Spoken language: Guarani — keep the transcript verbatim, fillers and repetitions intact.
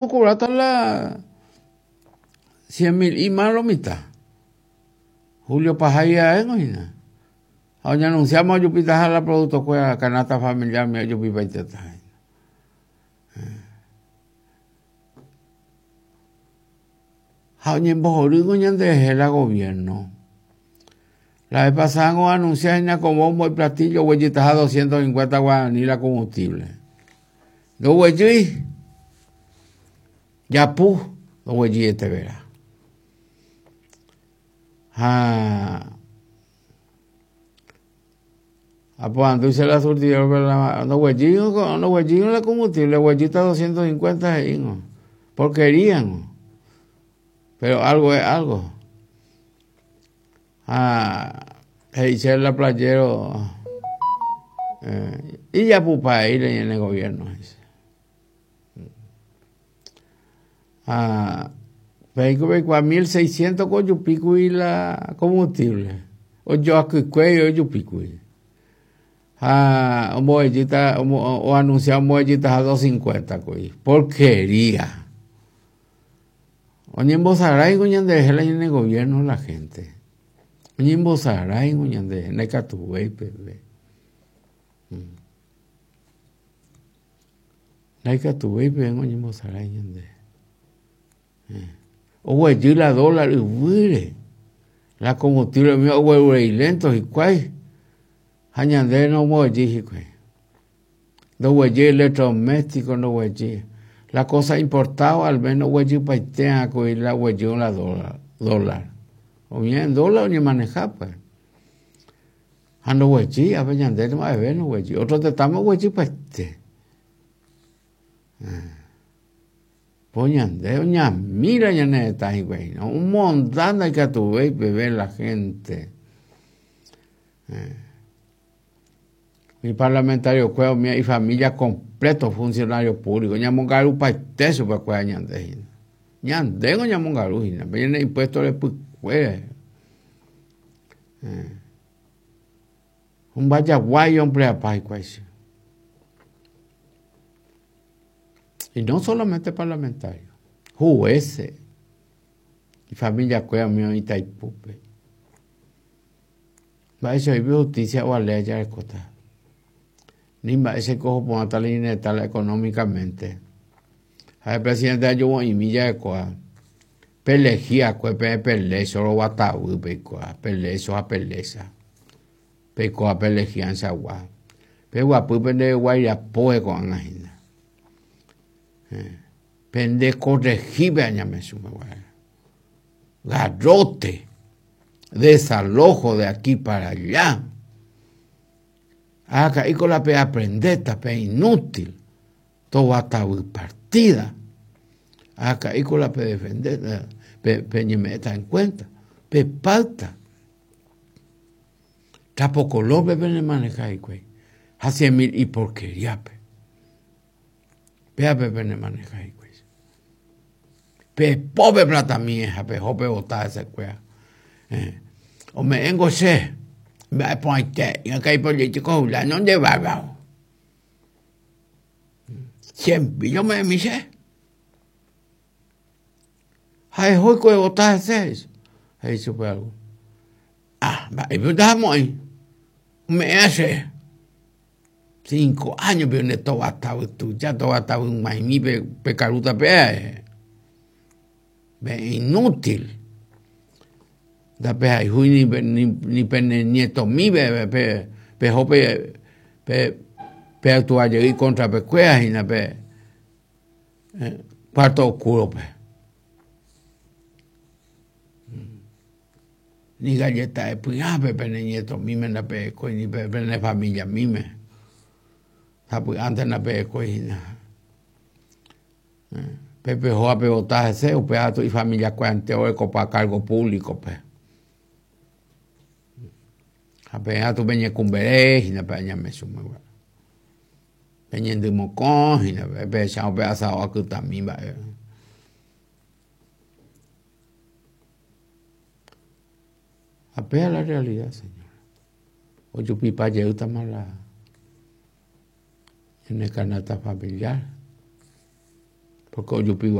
Okobrata la cien mil y más lo mitad. Julio Pajaya hína. Ha oñanunciamos ojupitaha la producto kuéra canasta familiar mi ojupipaitetaha hína. Ha oñembohorýngo ñanderehe la gobierno. La vez pasada anuncia hína con bombo y platillo oguejytaha doscientos cincuenta guarani la combustible. Ndoguejýi japu ndoguejýietevera. Ha aporandu la surtidor ndoguejýingo ndoguejýingo la combustible oguejýta doscientos cincuenta he'íngo. Porqueríango. Pero algo es algo. Ha he'i chéve la playero eh, ijapupaeíre ñane gobierno he'i. Ha peiko peikuaa mil seiscientos ko ojupíkuri la combustible. Ojoakykuéi ojupíkuri. Ha omboguejýta oanuncia omboguejytaha doscientos cincuenta kuri. Porquería. Oñembosaráingo ñanderehe la ñane gobierno la gente. Oñembosaráingo ñanderehe ndaikatuvéi peve. Ndaikatuvéi peve oñembosarái ñanderehe. Oguejy la dólar yvýre. La combustible umi oguerurei lento hikuái. Ha ñande nomboguejýi hikuái. Ndoguejýi electrodoméstico ndoguejýi. La cosa importada al menos oguejypaitéa kuri la oguejýrõ la dólar. dólar. Umi en dólar oñemaneja pues. Ha ndoguejýi ápe ñande mba'eve ndoguejýi. Otro tetãme oguejypaite. Po ñande oñamíra ñane retã hikuái. Omonda ndaikatuvéi peve la gente. Mi parlamentario kuéra umi ifamilia completo funcionario público ñamongarupaite chupekuéra ñande hína. Ñandéngo ñamongaru hína pe ñane impuesto repykuére. Ombajaguái ompleapa hikuái. Y no solamente parlamentario, jueces y familia kuéra umi oĩ Itaipúpe. Mba'éicha oĩpe justicia ovalea jarekóta. Ni mba'éicha oho porãta la ñane retã económicamente. Ha el presidente ajuvo'imi jarekóva. Pelegiakue peẽ pelécho roguatavy peikuaa, pelécho ha pelécha. Peikóva pelegianchagua. Peguapy pende guairapópe ko'ág̃a hína. Pende corregípe añame chupe. Garrote, desalojo de aquí para allá. Acá la pe aprendeta, pe inútil. Tovatavy partida. Acá la pe defender, pe, pe ñemeta en cuenta. Pe pauta. Trapo color pe pe maneja hikuái. Ha cien mil y porquería pe. Péape pene maneja hikuái. Pe pope plata mía, pe jope botá ese kuéra. Eh. Ome'ẽngo che. Mba'e porãite, ñakai político fulano nde bárbaro. Siempre yo me che. Ha ehói botá ese. He'i chupe algo. Ah, mba'épe ndahamo'ãi. Ome'ẽ che. Cinco años pe nde tovatavy tuja, tovatavy g̃uaig̃ui pe, pe karuta pe. Pe inútil. Ndapehayhúi ni, ni, ni pene nietomi pe, pe, peho pe, pe, pe actuajey contra pekuéra hína pe eh, cuarto oscuro pe. Ni galleta de py'ápe pene nietomíme ndapehekói ni pe pene familia míme. Sapy'ánte ndapehekói hína. Pe pehóva pevota hese upéva tu ifamilia kuéra orekopa cargo público pe. Ha peẽ tu peñekumbere hína pe añame chumegua. Peñendymokõ hína pe pehechávo pe asado akytami mba'e. Ha péa la realidad, señora. Ojupipa jeýtama la ñane canasta familiar. Porque ojupi.